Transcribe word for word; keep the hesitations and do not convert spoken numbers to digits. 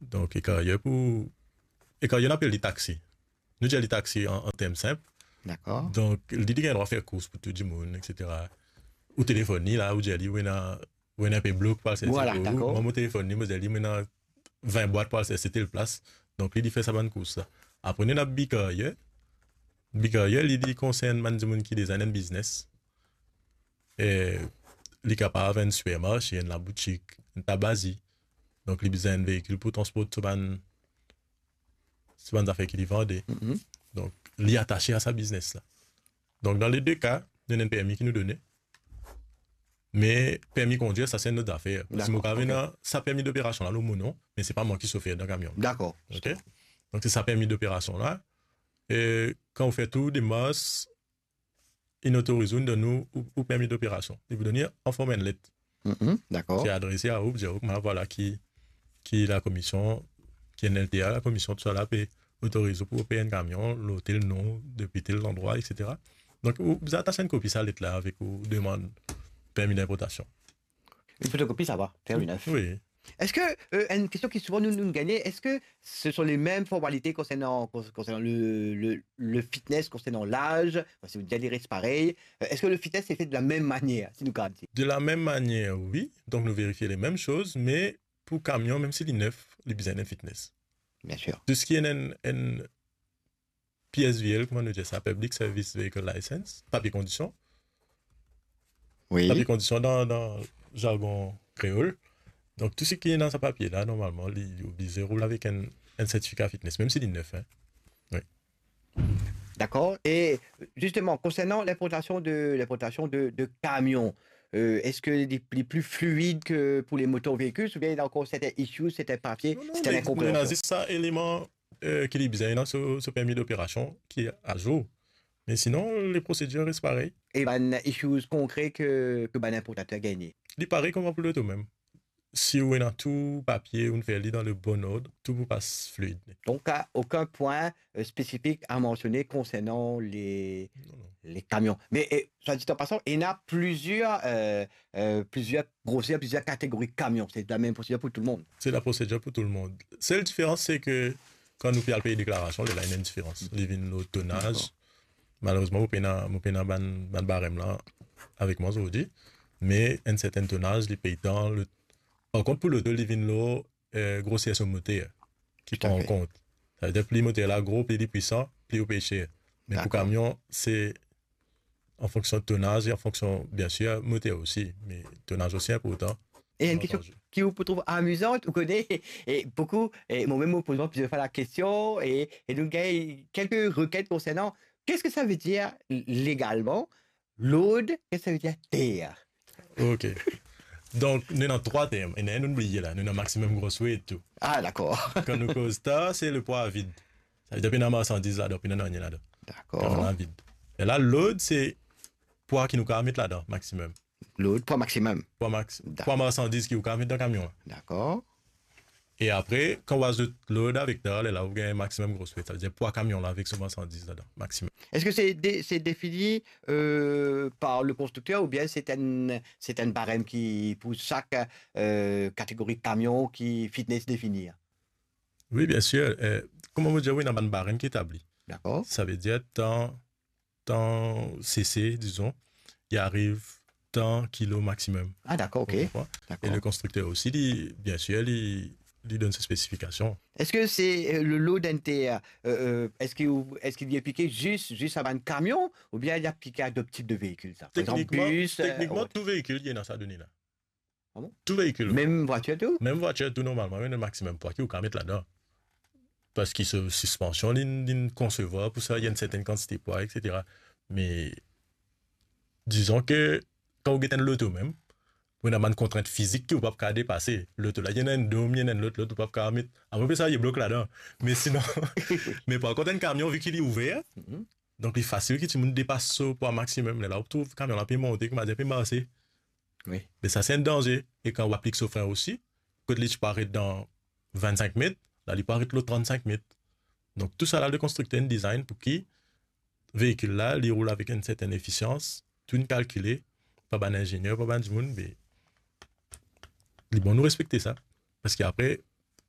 Donk, e karyer pou, e karyer nou apel li taxi. Nou dir li taxi an, an term sinp. Dakor. Donk, li, li gagn drwa fer kours pou tou dimoun, et cetera. Ou telefonn li la, ou dir li, ou ena, ou ena inpe blok pou al servi. Vwala, pou ou. Dakor. Mwa, mo telefonn li, mo dir li, mo ena vin bwat pou al servi tel plas. Donk, li, li fer sa bann kours la. Apre, nou ena B-Carrier. B-Carrier, li, li konsern bann dimoun ki deza ena enn biznes. E li kapav enn sipermarse, enn laboutik, enn tabazi. Donk, li bizin enn veikil pou transport so bann, so bann zafer ki li vande. Mhm. Donk, li atase a sa biznes la. Donk, dan le de ka, nou ena enn permi ki nou done. Me permi kondwir, sa se enn lot zafer. Parski mo kapav ena sa permi doperasion la lor mo non, me se pa mwa ki sofer dan kamion. Dakor. Ok? Donk, se sa permi doperasion la. E kan ou fer tou demars, inn otoriz ou, inn donn ou, ou, ou permi doperasion. Li pou donn ou an form enn let. Mhm, dakor. Ki adrese a ou, dir ou, vwala ki, ki lakomision, ki enn L T A, lakomision, tousala pe otoriz ou pou oper enn kamion, lor tel non, depi tel landrwa, et cetera. Donk, ou bizin atas enn kopi sa let la avek ou demann permi dinportasion. Une photocopie, ça va, faire une œuvre. Oui. Est-ce que, euh, une question qui souvent nous, nous gagne, est-ce que ce sont les mêmes formalités concernant, con-, concernant le, le, le fitness, concernant l'âge, enfin, si vous dites les restes pareil, euh, est-ce que le fitness est fait de la même manière, si nous gardons ici ? De la mem manier, wi. Donk, nou verifie le mem soz, me pou kamion, mem si li nef, li bizin enn fitness. Bien sûr. Tou seki enn, enn, enn P S V L, kouma nou dir sa, Public Service Vehicle License, papie kondision. Wi. Papie kondision dan, dan zargon kreol. Donk, tou seki ena sa papie la, normalman, li oblize roul avek enn, enn sertifika fitness, mem si li nef, hein. Wi. Dakor. E zisteman, konsernan linportasion de, linportasion de, de kamion, euh, eski li, li pli fluid ke pou le motor veikil, oubien ena ankor sertin issues, sertin papie, sertin inkonpreansion ? Non, non, li ena zis sa eleman, euh, ki li bizin ena so, so permi doperasion ki azour. Me sinon, le prosedir res parey. E bann issues konkre ke, ke bann inportater gagne ? Li parey kouma pou loto mem. Si ou ena tou papie, ou fer li dan le bon ord, tou pou pas fluid. Donc, euh, aucun point, euh, spécifique à mentionner concernant les, non, non, les camions. Mais, euh, soit dit en passant, il y en a plusieurs, euh, euh, plusieurs grosseurs, plusieurs catégories de camions. C'est la même procédure pour tout le monde. C'est la procédure pour tout le monde. Seule différence, c'est que kan nou pe al pey deklarasion, lerla ena enn diferans. Li vinn lor tonaz. Dakor. Malerezman, mo pena, mo pena bann, bann barem la avek mwa zordi. Me enn sertin tonaz, li pey tan. Le, par kont, pou loto, li vinn lor, euh, groser so moter ki pran an kont. Tout à fait. Savedir, pli moter la gro, pli li pwisan, pli ou pey ser. Me pou kamion, se an fonksion tonaz e an fonksion, bien sir, moter osi. Me tonaz osi inportan. Bien antandi. E enn kestion ki ou pou trouv amizan, ou kone, e boukou, e mwa mem mo poz mwa plizier fwa la kestion, e, e nou gagn kelke rekent konsernan, qu'est-ce que ça veut dire légalement, load, qu'est-ce que ça veut dire terre ? Ok. Donk, nou ena trwa term. Ena enn nou bliye la. Nou ena maximum gross weight tou. Ah, dakor. Kan nou koz terre, se le pwa vid. Savedir, pena marsandiz ladan, pena nanye ladan. Dakor. Pwa vid. E la, load, se pwa ki nou kapav met ladan, maximum. Load, pwa maximum. Pwa max, dakor, pwa marsandiz ki ou kapav met dan kamion la. Dakor. E apre, kan ou azout load avek terre, lerla ou gagn maximum gross weight. Savedir pwa kamion la avek so marsandiz ladan, maximum. Est-ce que c'est dé-, c'est défini, euh, par le constructeur ou bien c'est un, c'est un barème qui, pour chaque, euh, catégorie de camion qui fitness défini ? Wi, bien sir. Eh, kouma mo dir, wi, ena bann barem ki etabli. Dakor. Savedir, tan, tan C C, dizon, li ariv tan kilo maximum. Ah, dakor, ok. Ou konpran ? Dakor. E le konstrikter osi, li, bien sir, li, li donn so spesifikasion. Est-ce que c'est, euh, le load entier, euh, euh, est-ce que, est-ce qu'il est appliqué juste, juste à bann camion ou bien il est appliqué à d'autres types de véhicules, ça ? Par exemple, bus, euh, autre ? Teknikman, teknikman, tou veikil, li ena sa done la. Ah bon ? Tou veikil. Mem vwatir tou ? Mem vwatir tou, normalman, wi, le maximum pwa ki ou kapav met ladan. Parski so sispansion, li, li konsevwar pou sa, li ena enn sertin kantite pwa, et cetera. Me, dizon ke, kan ou get enn loto mem, ou ena bann kontrint fizik ki ou pa kapav depase. Loto la, li ena enn dom, li ena enn lot, lot, ou pa kapav met. Amoin pe sa, li blok ladan. Me sinon, me par kont, enn kamion, vi ki li ouver, mhm, donk li fasil ki dimoun depas so pwa maximum. Lerla ou trouv kamion la pe monte, koumadir pe marse. Wi. Me sa, se enn danze. E kan ou aplik so fren osi, kot li ti pou aret dan vinn-sink met, la, li pou aret lor trant-sink met. Donk, tousala, le konstrikter inn design pou ki veikil la, li roul avek enn sertin efisians, tou inn kalkile par bann inzinier, par bann dimoun, me li bon nou respekte sa. Parski apre,